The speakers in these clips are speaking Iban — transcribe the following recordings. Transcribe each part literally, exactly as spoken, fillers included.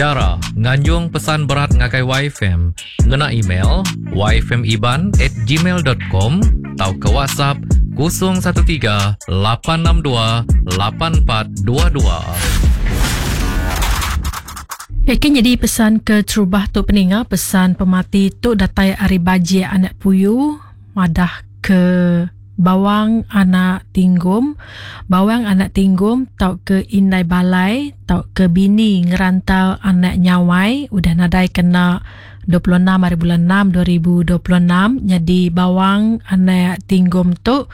Chara nganjung pesan berat ngagai Y F M ngena email y f m iban at gmail dot com atau ke WhatsApp kosong satu tiga lapan enam dua lapan empat dua dua. Yakin jadi pesan ke terubah tu peninga pesan pemati tu datai ari Bajik anak Puyu madah ke Bawang anak Tinggum, Bawang anak Tinggum tau ke Indai Balai tau ke bini ngerantau anak Nyawai udah nadai kena dua puluh enam hari bulan enam dua ribu dua puluh enam. Jadi Bawang anak Tinggum tu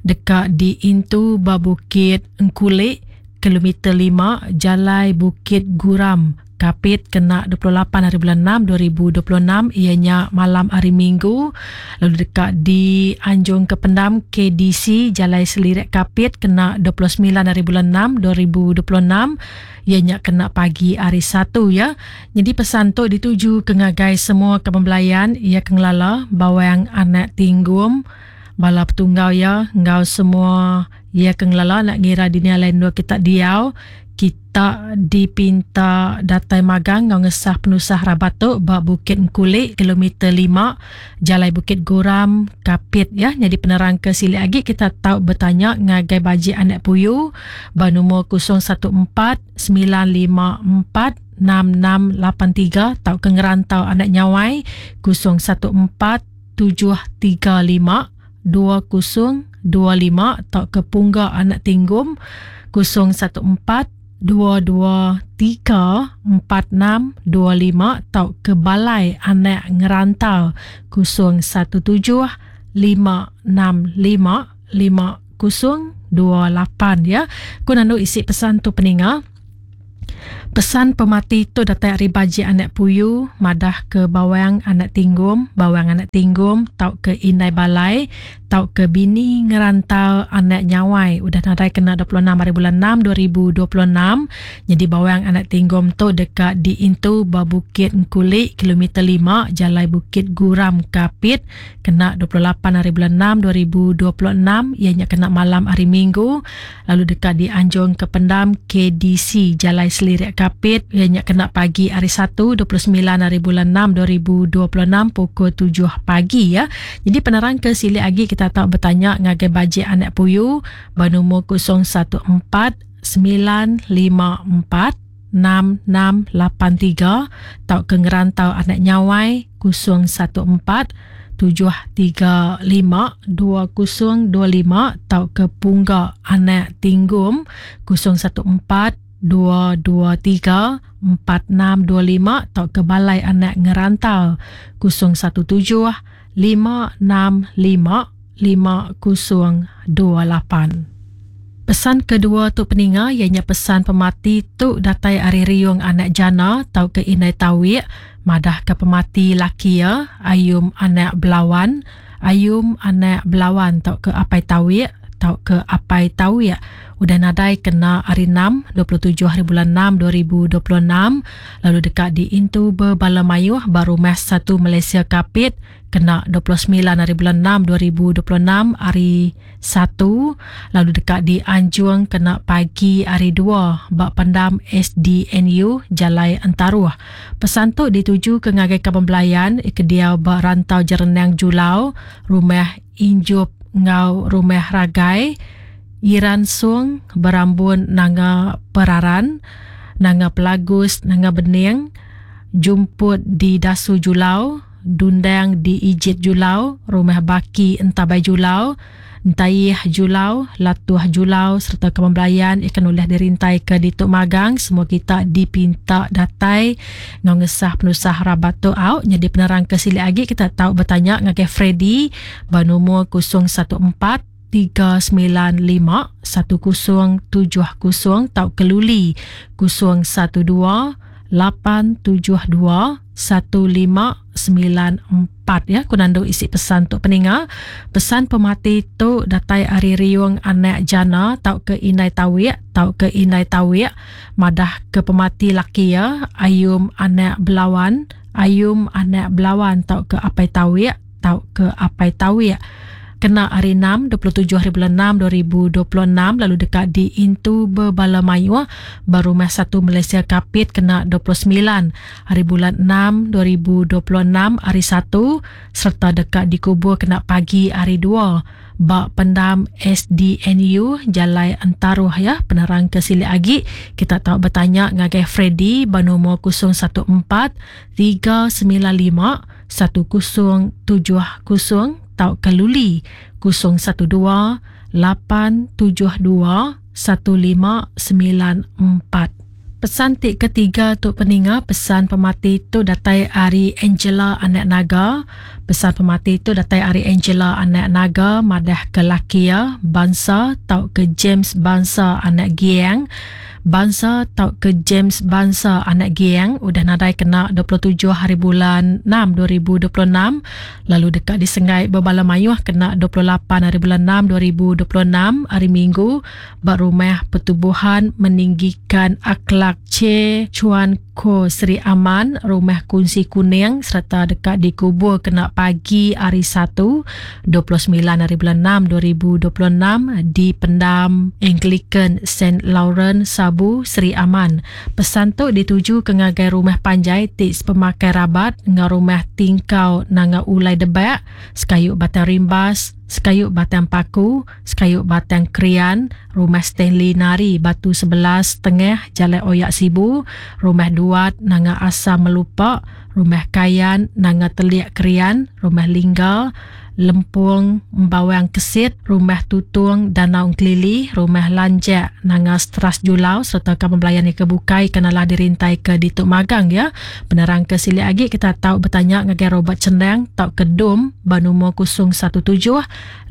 dekat di Intu ba Bukit Engkulik kilometer lima Jalai Bukit Guram Kapit kena dua puluh lapan hari bulan enam dua ribu dua puluh enam, ianya malam hari Minggu. Lalu dekat di Anjung ke Pendam K D C Jalai Selirek Kapit kena dua puluh sembilan hari bulan enam dua ribu dua puluh enam, ianya kena pagi hari Satu ya. Jadi pesan tu dituju ke ngagai semua kepembelayan ia ke ngelala Bawang anak Tinggum bala petunggau ya ngau semua ia ke ngelala nak ngira dunia lain dua kita diau kita dipinta datai magang ngau ngesah penusah rabat tu ba Bukit Engkulik kilometer lima Jalai Bukit Guram Kapit ya. Jadi penerang ke silik lagi kita tahu bertanya ngagai Bajik anak Puyu ba nombor kosong satu empat sembilan lima empat enam enam lapan tiga tau ke ngerantau anak Nyawai kosong satu empat tujuh tiga lima dua kosong dua lima tau ke Pungga anak Tinggum kosong satu empat dua dua tiga empat enam dua lima tau ke Balai anak Ngerantau kosong satu tujuh lima enam lima lima kosong dua lapan ya. Ku nandu isi pesan tu peninga. Pesan pemati tu datang dari Bajik anak Puyu madah ke Bawang anak Tinggum, Bawang anak Tinggum tau ke Indai Balai tau ke bini ngerantau anak Nyawai udah nadai kena dua puluh enam hari bulan enam dua ribu dua puluh enam. Jadi Bawang anak Tinggum tu dekat di Intu ba Bukit Engkulik kilometer lima Jalai Bukit Guram Kapit kena dua puluh lapan hari bulan enam dua ribu dua puluh enam, ianya kena malam hari Minggu. Lalu dekat di Anjung ke Pendam K D C Jalai Selirek Kapit ianya kena pagi hari Satu dua puluh sembilan hari bulan enam dua ribu dua puluh enam pukul tujuh pagi ya. Jadi penerang ke silik lagi kita tak bertanya ngagai Bajik anak Puyu bernombor kosong satu empat sembilan lima empat enam enam lapan tiga tau ke ngerantau anak Nyawai kosong satu empat tujuh tiga lima dua kosong dua lima tau ke Pungga anak Tinggum kosong satu empat dua dua tiga empat enam dua lima tau ke Balai anak Ngerantau kosong satu tujuh lima enam lima lima kosong dua lapan. Pesan kedua tu peninga ianya pesan pemati tu datai ari Riung anak Jana tau ke Indai Tawik madah ke pemati laki ya Ayum anak Belawan, Ayum anak Belawan tau ke Apai Tawik tau ke Apai Tawik udah nadai kena hari enam dua puluh tujuh hari bulan enam dua ribu dua puluh enam. Lalu dekat di Intu Berbala Mayuh baru Rumah Satu Malaysia Kapit kena dua puluh sembilan hari bulan enam dua ribu dua puluh enam hari Satu. Lalu dekat di Anjung kena pagi hari dua bak Pendam S D N U Jalai Entaruh. Pesan tu dituju ke ngagai kaban belayan ke diau bak Rantau Jerenang Julau, Rumah Injup ngau Rumah Ragai, Iran Sung, Berambun Nanga Peraran, Nanga Pelagus, Nanga Bening, Jumput di Dasu Julau, Dundang di Ijit Julau, Rumah Baki Entabai Julau, Entaih Julau, Latuh Julau serta kepembelayan ikan ulah dirintai ke Dituk Magang. Semua kita dipinta datai ngau ngesah penusah rabat tu au. Jadi penerang ke silik lagi kita tahu bertanya ngagai Freddy bernombor kosong satu empat tiga sembilan lima satu kosong tujuh kosong tau keluli kosong satu dua lapan tujuh dua satu lima sembilan empat ya. Ku nandu isi pesan tok peninga. Pesan pemati tu datai ari Riung anak Jana tau ke Indai Tawik tau ke Indai Tawik madah ke pemati laki ya Ayum anak Belawan, Ayum anak Belawan tau ke Apai Tawik tau ke Apai Tawik kena hari enam dua puluh tujuh hari bulan enam dua ribu dua puluh enam lalu dekat di Intu Bebala Mayuh Berumah satu Malaysia Kapit kena dua puluh sembilan hari bulan enam dua ribu dua puluh enam hari satu serta dekat dikubur kena pagi hari dua bak pendam S D N U Jalai Entaruh ya. Penerang ke silik agi kita tahu bertanya ngagai Freddy bernomor kosong satu empat tiga sembilan lima satu kosong tujuh kosong tau ke Luli kosong satu dua lapan tujuh dua satu lima sembilan empat. Pesan ti ketiga tu peninga, pesan pemati tu datai ari Angela anak Naga. Pesan pemati tu datai ari Angela anak Naga madah ke laki ya bangsa tau ke James bangsa anak Giang. Bangsa tau ke James bangsa anak Giang udah nadai kena dua puluh tujuh hari bulan enam dua ribu dua puluh enam lalu dekat di Sengai Bebala Mayuh kena dua puluh lapan hari bulan enam dua ribu dua puluh enam hari Minggu ba rumah pertubuhan meninggikan akhlak Che Chuan Ko Seri Aman rumah kunci kuning serta dekat dikubur kena pagi hari Satu dua puluh sembilan hari bulan enam dua ribu dua puluh enam di pendam Anglican Saint Lawrence Sabu Seri Aman. Pesan tu dituju ke ngagai rumah panjai ti pemakai rabat ngau rumah tingkau nanga ulai debak sekayuk batang rimbas sekayuk batang paku sekayuk batang krian rumah Stanley Nari Batu sebelas Tengah Jalan Oyak Sibu rumah Duat nanga Asam Melupak rumah Kayan nanga Teliak Krian rumah Lingga Lempung Bawang Kesit rumah Tutung Danau Kelili rumah Lanjak nanga Stras Julau serta kampung belayan yang kebukai kenalah dirintai ke Dituk Magang ya. Penerang ke silik agi kita tahu bertanya ngagai Robert Cendang tau ke Dom bernomor kosong satu tujuh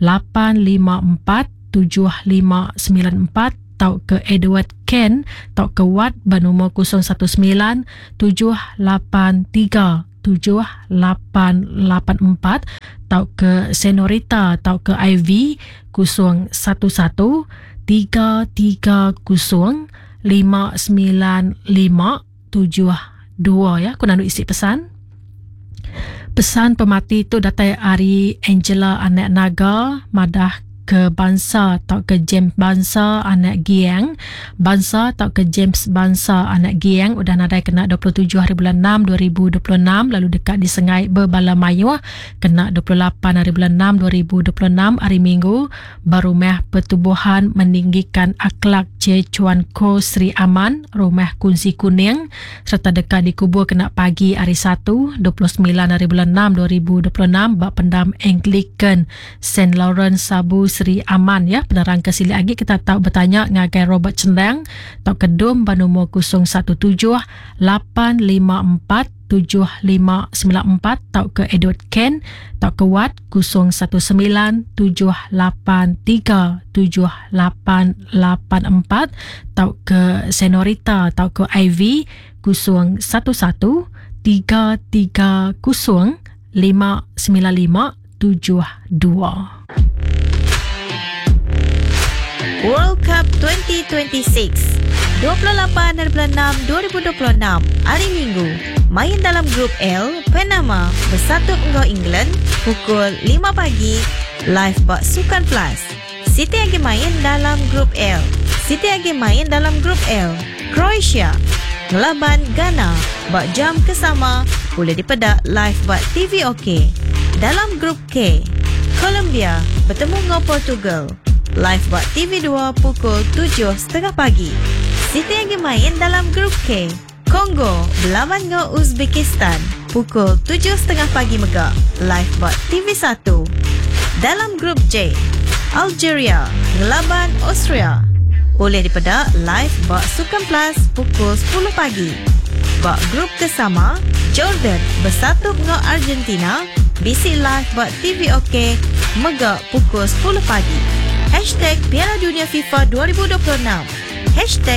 lapan lima empat tujuh lima sembilan empat tau ke Edward Ken tau ke Watt bernomor kosong satu sembilan tujuh lapan tiga tujuh lapan lapan empat tau ke Senorita tau ke I V kosong satu satu tiga tiga kosong lima sembilan lima tujuh dua ya. Aku nak isi pesan. Pesan pemati tu datai ari Angela anak Naga madah ke bangsa atau ke James bangsa anak Giang. Bangsa atau ke James bangsa anak Giang udah nadai kena dua puluh tujuh hari bulan enam dua ribu dua puluh enam lalu dekat di Sengai Bebala Mayuh kena dua puluh lapan hari bulan enam dua ribu dua puluh enam hari Minggu berumah pertubuhan meninggikan akhlak Che Chuan Ko Sri Aman rumah kunci kuning serta dekat dikubur kena pagi hari Satu dua puluh sembilan hari bulan enam dua ribu dua puluh enam bak pendam Anglican Saint Lawrence Sabu Sri Aman ya. Penerang ke silik lagi kita tahu bertanya ngagai Robert Cendang tau kedum bernomor kosong satu tujuh lapan lima empat tujuh lima sembilan empat tau ke Edward Ken tau ke Watt kosong satu sembilan tujuh lapan tiga tujuh lapan lapan empat tau ke Senorita tau ke I V kosong satu satu tiga tiga kosong lima sembilan lima tujuh dua. World Cup dua ribu dua puluh enam, dua puluh lapan hari enam dua ribu dua puluh enam, hari Minggu. Main dalam grup L, Panama bersatu dengan England pukul lima pagi, live bak Sukan Plus. City lagi main dalam grup L. City lagi main dalam grup L. Croatia ngelaban Ghana bak jam kesama boleh dipedak live bak T V OK. Dalam grup K, Colombia bertemu dengan Portugal. Live buat T V dua pukul tujuh tiga puluh pagi. City yang main dalam grup K, Kongo berlawan dengan Uzbekistan pukul tujuh tiga puluh pagi mega. Live buat T V satu. Dalam grup J, Algeria ngelaban Austria. Boleh dipedak live buat Sukan Plus pukul sepuluh pagi. Buat grup kesama, Jordan bersatu dengan Argentina, B C live buat T V OK mega pukul sepuluh pagi. Hashtag Piala Dunia FIFA dua ribu dua puluh enam. Hashtag